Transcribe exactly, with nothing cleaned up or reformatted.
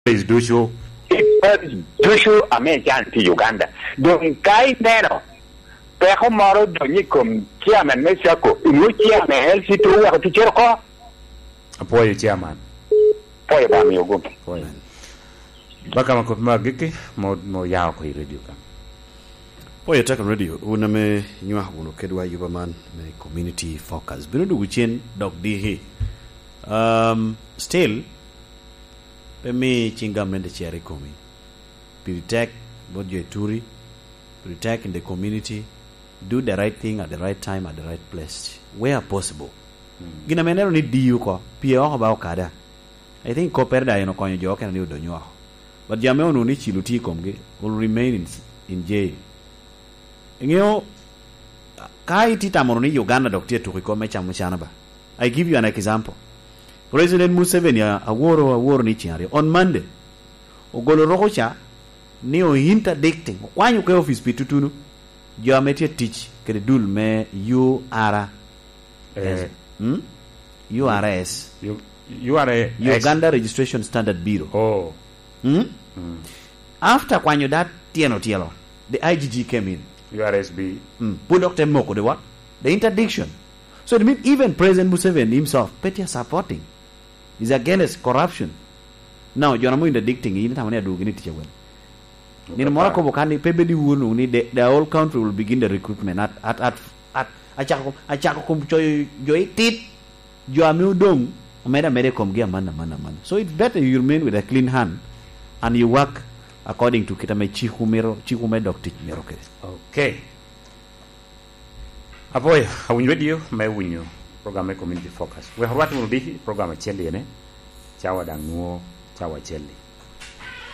Is ducu. Is ducu ame can pi Uganda. Doŋ ka ineno peko moro donyo i kom chairman me sacco, inwo chairman L C two oweko ticcere oko. Apwoyo chairman. Pwoyo ba miyo gum. Pwoyo. Baka ma kop ma giki mo mo yawo ko i radio kan. Pwoyo Teko Radio, un ame nywako wunu kedwa yuba man me Community Focus. Bino dugu cen dok diki. Um, still, pe mi cing gamente cer i komi. Piri tek bot jo i turi, piri tek in the community, do the right thing at the right time at the right place, where possible. Mm. Gin ame neno ni diyo oko, pie oko ba okada. I think koppere daŋ en okonyo jo okene ni odonyo oko. But jo ame onwoŋo ni cilo tye i komgi will remain in, in jail. Iŋeo, ka itye tamo ni Uganda dok tye tuko i kom me camo cana ba, I give you an example. President Museveni, a-, aworo, aworo ni ceng aryo, on Monday, ogolo roko ca ni o interdicting, okwanyo ke office pi tutunu jo ame tye tic kede dul me U R S. Eh. Hmm? U R S. U-, U R S. Uganda Registration Standard Bureau. Oh. Hmm? Mm. After kwanyo dat tyeno tyelo, the I G G came in. U R S B. Mm. Pwod dok te moko the what? The interdiction. So it means even President Museveni himself, pe tye supporting. Is against corruption. Now, jo ame interdicting, in itamo ni adwogo gini tic awel. Nino moro akobo kan ni pe bedi wunu ni the, the whole country will begin the recruitment at, at, at, at, acako, acako kom coyo jo itit, jo ame odoŋ, omeda meda i komgi aman, aman, aman. So it's better you remain with a clean hand and you work according to kit ame cikwu mito, cikwu me dok tic mito kede. Okay. Apwoyo, awinyo radio me winyo program me Community Focus. Wek orwat wunu diki program acel ene, cawa daŋ nwo cawa acel-li.